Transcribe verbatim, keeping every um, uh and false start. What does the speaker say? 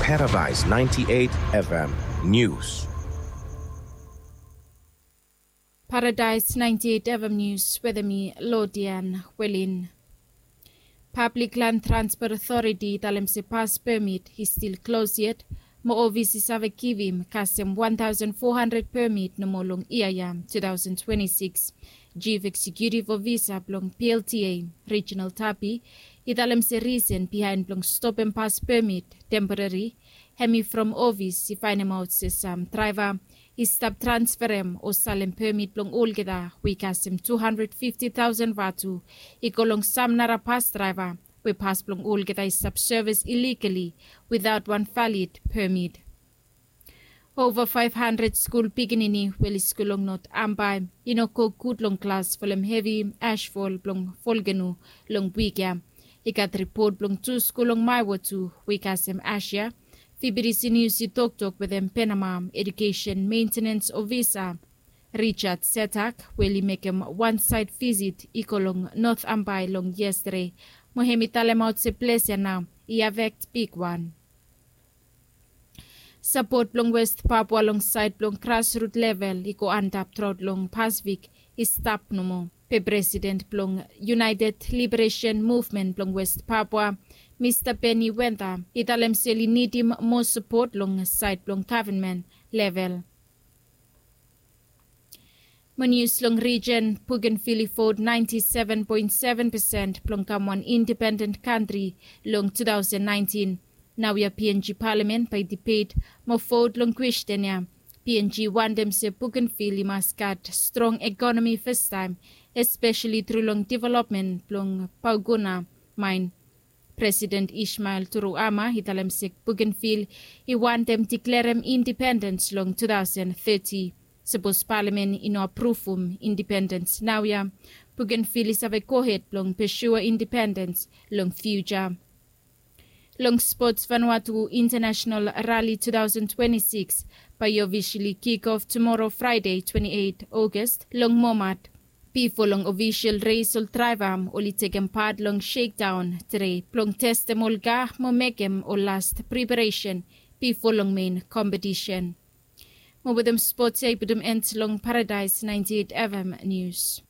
Paradise ninety-eight F M News. Paradise ninety-eight F M News wetem mi, Lodian Welin. Pablik Lan Transpot Otoriti i talem se pas pemit i stil klos yet, mo ofis i save givim kasem wan taosen fo handred pemit nomo long yia ya, tu taosen twenti sikis. Jif Eksekutif Ofisa blong P L T A, Reginald Tapi, i talem se risen bihaen blong stopem pas pemit temporari, hemi from ofis i faenemaot se sam draeva i stap transferem o salem pemit blong olgeta we i kasem tu handred fifti taosen vatu i go long sam nara pas draeva we pas blong olgeta i stap sevis iligali witaot wan valid pemit. Ova faef handred skul pikinini we oli skul long Not Ambae i no go gud long klas folem hevi asfol blong volkeno long wik ya. I gat ripot blong tu skul long Maewo tu we i kasem as ya. Fibidisi Nius i toktok wetem Penama Edukesen Mentenens Ofisa Richard Setak we oli mekem wan saed visit i go long Not Ambae long yestade, mo hemi talemaot se ples ya nao i afekt bigwan. Sapot blong West Papua long saed blong grasrut level i go antap truaot long Pasifik i stap nomo. Be presiden blong United Liberation Movement blong West Papua, Mista Benny Wenda, i talem se oli nidim moa sapot long saed blong gavman level. Mo nius long rijen, Bougainville i vot naenti seven poen seven pesen blong kam wan indipenden kantri long tu taosen naentin. Naoia P N G palamen bae i dibet mo vot long kwesten ya. P N G wantem se Bougainville i mas gat strong ekonomi fastaem, espeseli tru long developmen blong Baukuna maen. Presiden Ismael Turuama i talem se Bougainville i wantem deklerem indipendens long tu taosen teti. Sapos palamen i no apruvum indipendens naoia, Bougainville i save gohed blong pesua indipendens long fiuja. Long spots, Vanuatu International Rally tu taosen twenti sikis bae i ofisali kik of tumoro, Fraede twenti eit Ogas, long Momat. Bifo long ofisal res, ol draeva oli tekem pat long shekdaon tede blong testem ol ka mo mekem ol las preparesen bifo long mein kompetisen. Mo wetem spots ya i putum en long Paradaes naenti eit F M Nius.